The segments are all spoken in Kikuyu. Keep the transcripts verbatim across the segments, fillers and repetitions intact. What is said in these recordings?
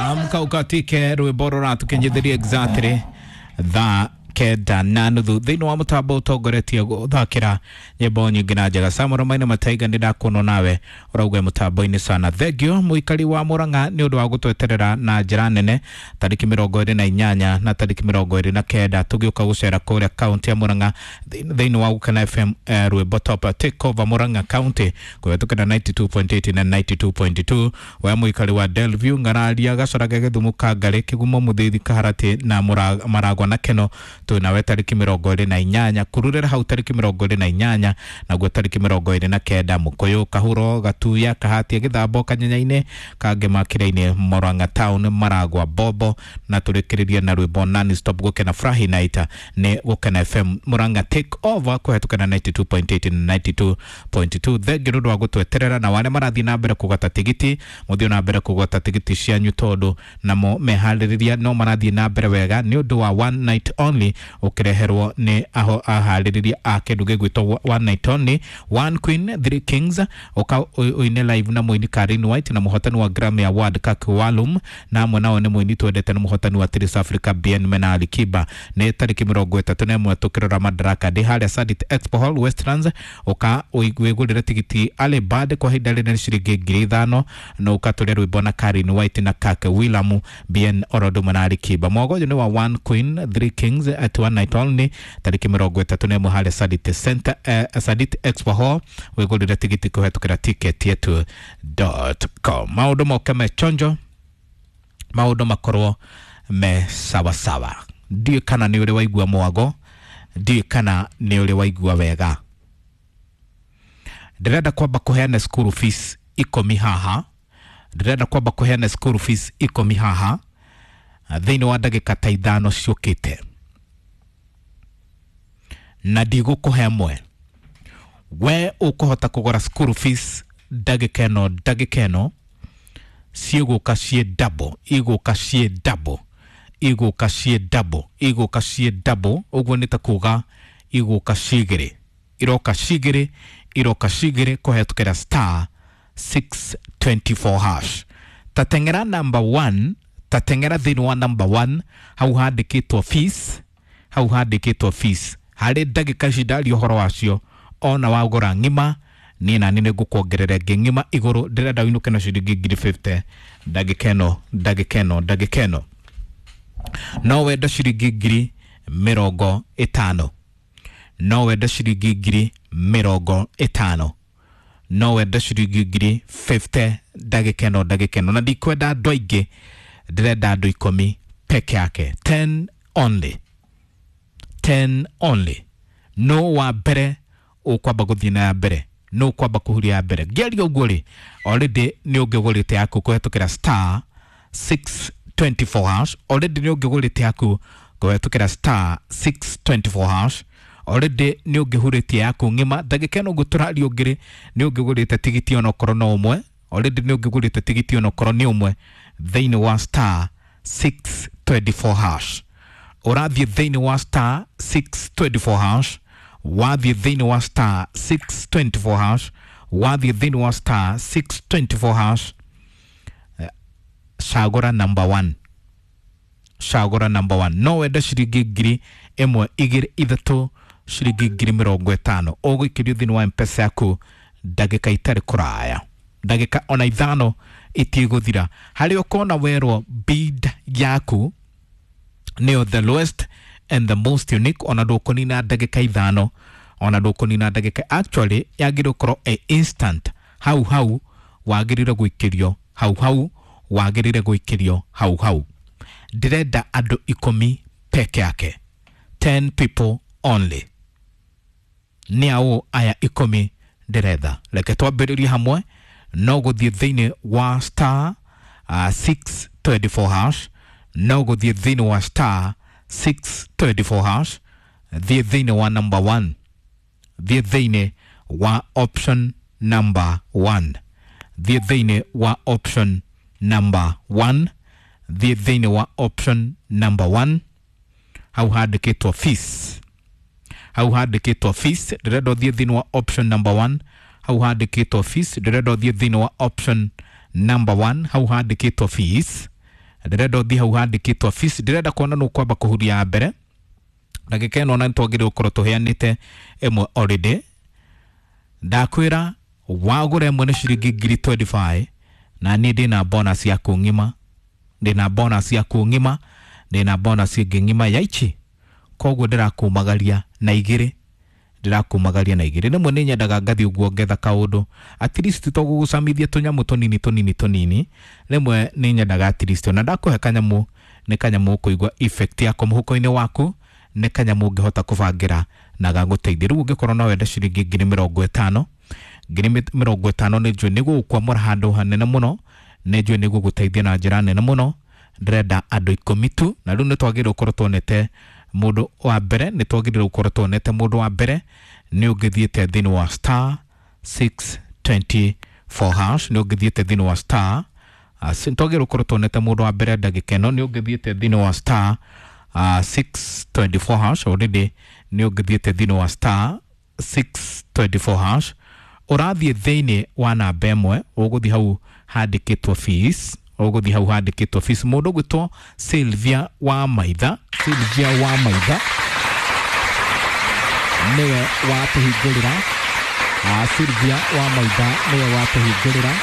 Amka ukatike rwimbo ruratukinyithirie exactly thaa kenda na nuthu thiini wa mutambo utongoretie guthakira nyimbo nyingi na njega. Samuel Maina Mataiga ni ndakuonwo nawe urauga mutambo-ini sana. Thengio muikari wa Murang'a ni undu wa gutweterera na njira nene tariki mirongo iri na inyanya na tariki mirongo iri na kenda tugiuka gucera kuria kaunti ya Murang'a thiini wa Gukena F M eh, rwimbo top take over Murang'a county kuhetũkĩra ninety two point eight na ninety two point two. We muikari wa Delview Ng'araria Gacorage Gĩthumo Kangarĩ Kĩgumo Mũthĩthi Kaharati na Maragwa na Keno nawe tariki mirongo iri na inyanya kururira hau tariki mirongo iri na inyanya naguo tariki mirongo iri na kenda Mukuyu Kahuro Gatuya Kahatia Githambo Kanyanya-ini Kangema Kira-ini Murang'a town Maragwa Bobo na turikiririe na rwimbo non stop Gukena Furahi Night ni Gukena F M Murang'a take over kuhetũkĩra ninety two point eight na ninety two point two. Thengiũ nĩ ũndũ wa gũtweterera na warĩa marathiĩ na mbere kũgata tigiti mũthiĩ na mbere kũgata tigiti cianyu tondũ namo meharĩrĩria no marathiĩ na mbere wega nĩ ũndũ wa one night only ukireherwo ni aho aharĩrĩria a kĩndũ gĩgwĩtwo one night only one queen three kings uka uine live na mũini Karin White na mũhotani wa Grammy Award Kak Walum na amwe nao nĩ mũini twendete na mũhotani wa Trace Africa B N Mena Alikiba nĩ tarĩki mĩrongo ĩtatũ na ĩmwe tũkĩrora Madaraka Day harĩa Sadit Expo Hall Westlands uka wĩgũrĩre tigiti Ale Bad kwa ihinda rĩrĩ nĩ ciringi ngiri ithano na ũkatũria rwĩmbo na Karin White na Kak William B N Orodumo na Alikiba. Mwago ũyũ nĩ wa one queen three kings at one night only tariki mirongo ĩtatũ na ĩmwe harĩa Sadit Center eh, Sadit Expo Hall wĩgũrĩre tigiti kũhetũkĩra ticket yetu dot com. Maũndũ moke me chonjo, maũndũ makorwo me sawasawa. Ndiũĩ kana nĩ ũrĩ waigua mwago, ndiũĩ kana nĩ ũrĩ waigua wega. Ndĩrenda kwamba kũheana school fees ikũmi haha, ndĩrenda kwamba kũheana school fees ikũmi haha thĩinĩ wa ndagĩka ta ithano ciũkĩte na ndigũkũhe ĩmwe. We ũkũhota kũgũra school fees ndagĩka ĩno ndagĩka ĩno ciĩgũka ciĩ double, igũka ciĩ double, igũka ciĩ double, igũka ciĩ double. Ũguo nĩ ta kuga igũka cigĩrĩ, iroka cigĩrĩ, iroka cigĩrĩ kũhetũkĩra star six twenty four hash. Tateng'era number one, tateng'era thĩinĩ wa number one hau handĩkĩtwo fees, hau handĩkĩtwo fees harĩ ndagĩka ici ndaria ũhoro wacio ona wagũra ng'ima niĩ nani nĩ ngũkuongerera ĩngĩ ng'ima igũrũ. Ndĩrenda ũinũke na ciringi ngiri fifty ndagĩka ĩno ndagĩka ĩno ndagĩka ĩno. No wende ciringi ngiri mĩrongo ĩtano, no wende ciringi ngiri mĩrongo ĩtano, no wende ciringi ngiri fifty ndagĩka ĩno ndagĩka ĩno. Na ndikwenda andũ aingĩ, ndĩrenda andũ ikũmi peke yake, ten only, ten only. No wa mbere ũkwamba gũthiĩ na ya mbere, no ũkwamba kũhuria ya mbere. Ngĩaria ũguo rĩ, already nĩ ũngĩgũrĩte yaku kũhetũkĩra star six twenty four hash, already nĩ ũngĩgũrĩte yaku kũhetũkĩra star six twenty four hash, already nĩ ũngĩhurĩtie yaku ng'ima ndagĩka ĩno ũguo tũraria ũngĩrĩ nĩ ũngĩgũrĩte tigiti onokorwo no ũmwe, already nĩ ũngĩgũrĩte tigiti onokorwo nĩ ũmwe thĩinĩ wa star six twenty four hash. Ũrathiĩ thĩinĩ wa star six twenty four hash, wathiĩ thĩinĩ wa star six twenty four hash, wathiĩ thĩinĩ wa star six twenty four hash, cagũra number one, cagũra number one. No wende ciringi ngiri ĩmwe igĩrĩ ithatũ ciringi ngiri mĩrongo ĩtano ũgũikĩrio thĩinĩ wa M-Pesa yaku ndagĩka itarĩ kũraya, ndagĩka ona ithano itigũthira. Harĩa ũkona werwo bid yaku nĩyo the lowest and the most unique, ona ndũkũnina ndagĩka ithano, ona ndũkũnina ndagĩka, actually yagĩrĩirwo gũkorwo ĩ instant, hau hau wagĩrĩire gũikĩrio, hau hau wagĩrĩire gũikĩrio, hau hau. Ndĩrenda andũ ikũmi peke yake, ten people only. Nĩ aũ aya ikũmi ndĩretha? Reke twambĩrĩrie hamwe no gũthiĩ thĩinĩ wa star uh, six twenty four hash, no gũthiĩ thĩinĩ wa star six twenty four hash, thiĩ thĩinĩ wa number one, thiĩ thĩinĩ wa option number one, thiĩ thĩinĩ wa option number one, thiĩ thĩinĩ wa option number one, hau handĩkĩtwo fees, hau handĩkĩtwo fees. Ndĩrenda ũthiĩ thĩinĩ wa option number one, hau handĩkĩtwo fees. Ndĩrenda ũthiĩ thĩinĩ wa option number one, hau handĩkĩtwo fees. Ndĩrenda ũthiĩ hau handĩkĩtwo fees. Ndĩrenda kuona nũ kwamba kũhuria ya mbere ndagĩka ĩno, na nĩtwagĩrĩirwo gũkorwo tũheanĩte ĩmwe already. Ndakwĩra wagũra ĩmwe nĩ ciringi ngiri mĩrongo ĩrĩ na ithano, na niĩ ndĩna bonus yaku ng'ima, ndĩna bonus yaku ng'ima, ndĩna bonus ĩngĩ ng'ima ya ichi. Koguo ndĩrakumagaria na igĩrĩ, ndĩrakumagaria na igĩrĩ. Rĩmwe nĩ nyendaga ngathiĩ ũguo ngetha kaũndũ, at least to gũgũcamithia tũnyamũ tũnini tũnini tũnini. Rĩmwe nĩ nyendaga at least ona ndakũhe kanyamũ, nĩ kanyamũ ũkũigua effect yako mũhuko-inĩ waku, nĩ kanyamũ ũngĩhota kũbangĩra na gagũteithia. Rĩu ũngĩkorwo no wende ciringi ngiri mĩrongo ĩtano, ngiri mĩrongo ĩtano nĩ njũĩ nĩ gũgũkwamũra handũ hanene mũno, nĩ njũĩ nĩ gũgũteithia na njĩra nene mũno. Ndĩrenda andũ ikũmi tu, na rĩu nĩ twagĩrĩirwo gũkorwo tuonete mũndũ wa mbere, nĩ twagĩrĩirwo gũkorwo tuonete mũndũ wa mbere. Nĩ ũngĩthiĩte thĩinĩ wa star six two four hash, nĩ ũngĩthiĩte thĩinĩ wa star uh, nĩ twagĩrĩirwo gũkorwo tuonete mũndũ wa mbere ndagĩka ĩno. Nĩ ũngĩthiĩte thĩinĩ wa star uh, six two four hash already, nĩ ũngĩthiĩte thĩinĩ wa star six two four hash. Ũrathiĩ thĩinĩ wa namba ĩmwe, ũgũthiĩ hau handĩkĩtwo fees, ũgũthiĩ hau handĩkĩtwo fees. Mũndũ ũgwĩtwo Sylvia wa Maitha, Sylvia wa Maitha nĩwe watũhingũrĩra. uh, Sylvia wa Maitha nĩwe watũhingũrĩra,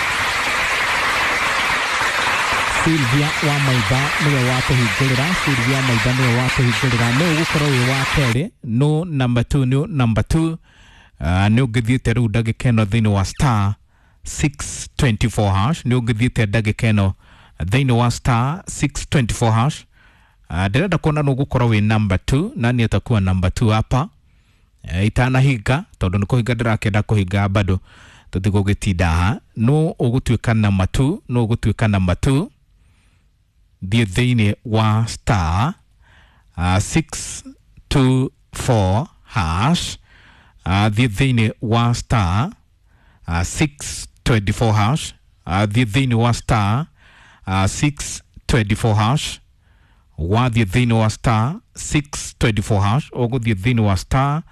Sylvia wa Maitha nĩwe watũhingũrĩra, Sylvia Maitha nĩwe watũhingũrĩra. Nĩ ũgũkorwo wĩ wa kerĩ, no number two, nĩ number two. uh, nĩ ũngĩthiĩte rĩu ndagĩka ĩno thĩinĩ wa star six two four hash, nĩ ũngĩthiĩte ndagĩka ĩno thĩinĩ wa star six two four hash. uh, ndĩrenda kuona nũ ũgũkorwo wĩ number two, nani atakuwa number two hapa uh, itanahinga, tondũ nĩ kũhinga ndĩrakĩenda kũhinga, bado tũtigũgĩtinda haha. Nũ ũgũtuĩka number two? Nũ ũgũtuĩka number two? Thiĩ thĩinĩ wa star uh, six two four hash, uh, thiĩ thĩinĩ wa star uh, six two four hash, uh, thiĩ thĩinĩ wa star uh, six two four hash. Wathiĩ thĩinĩ wa star six two four hash, ũgũthiĩ thĩinĩ wa star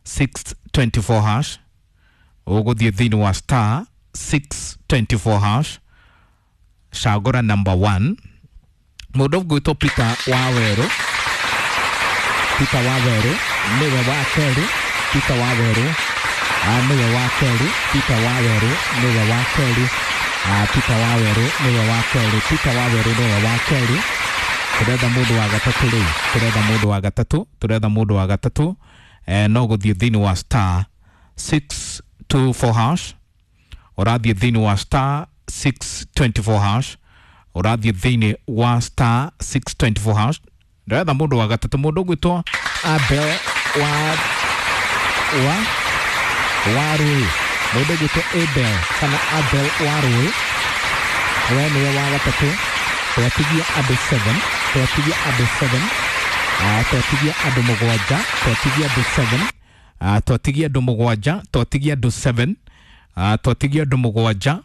six two four hash, ũgũthiĩ thĩinĩ wa star six two four hash, cagũra number one. Mũndũ ũgwĩtwo Peter wa Werũ, Peter wa Werũ nĩwe wa kerĩ, Peter wa Werũ ah, nĩwe wa kerĩ, Peter wa Werũ nĩwe wa kerĩ, ah, Peter wa Werũ nĩwe wa kerĩ, Peter wa Werũ nĩwe wa kerĩ. Tũretha mũndũ wa gatatũ rĩu, tũretha mũndũ wa gatatũ, tũretha mũndũ wa gatatũ. eh, no gũthiĩ thĩinĩ wa star six two four hash, ũrathiĩ thĩinĩ wa star six two four hash, ũrathiĩ thĩinĩ wa star six two four hash. Ndĩretha mũndũ wa gatatũ, mũndũ ũgwĩtwo Abel wa wa wa Rũĩ, mũndũ ũgwĩtwo Abel kana Abel wa Rũĩ, we nĩwe wa gatatũ. Twatigia andũ seven, twatigia andũ seven, uh, twatigia andũ mũgwanja, twatigia andũ seven, uh, twatigia andũ mũgwanja, twatigia andũ seven, uh, twatigia andũ mũgwanja,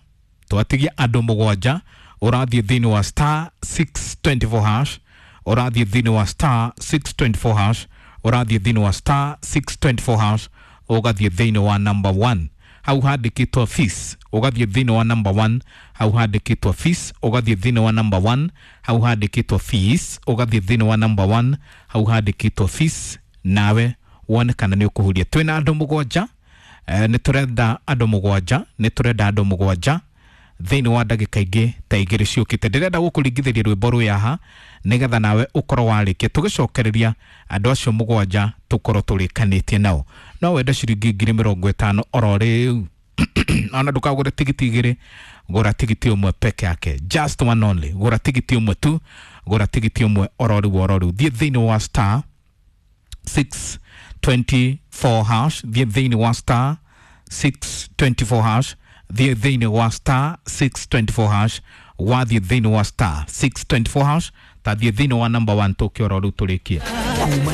twatigia andũ mũgwanja. Ũrathiĩ thĩinĩ wa star six two four hash, ũrathiĩ thĩinĩ wa star six two four hash, ũrathiĩ thĩinĩ wa star six two four hash, ũgathiĩ thĩinĩ wa number one hau handĩkĩtwo fees, ũgathiĩ thĩinĩ wa number one hau handĩkĩtwo fees, ũgathiĩ thĩinĩ wa number one hau handĩkĩtwo fees, ũgathiĩ thĩinĩ wa number one hau handĩkĩtwo fees, nawe wone kana nĩ ũkũhuria. Twĩna andũ mũgwanja, eh, nĩ tũrenda andũ mũgwanja, nĩ tũrenda andũ mũgwanja thĩinĩ wa ndagĩka ingĩ ta igĩrĩ ciũkĩte. Ndĩrenda gũkũringithĩria rwĩmbo rũyũ haha nĩgetha nawe ũkorwo warĩkia, tũgĩcokereria andũ acio mũgwanja tũkorwo tũrĩkanĩtie nao. No wende ciringi ngiri mĩrongo ĩtano oro rĩu, ona ndũkagũre tigiti igĩrĩ, gũra tigiti ũmwe peke yake, just one only. Gũra tigiti ũmwe tu, gũra tigiti ũmwe oro rĩu, oro rĩu. Thiĩ thĩinĩ wa star six two four hash, thiĩ thĩinĩ wa star six two four hash, thiĩ thĩinĩ wa star six two four hash. Wathiĩ thĩinĩ wa star six two four hash, ta thiĩ thĩinĩ wa number one tũkĩoro rĩu tũrĩkie. Kuma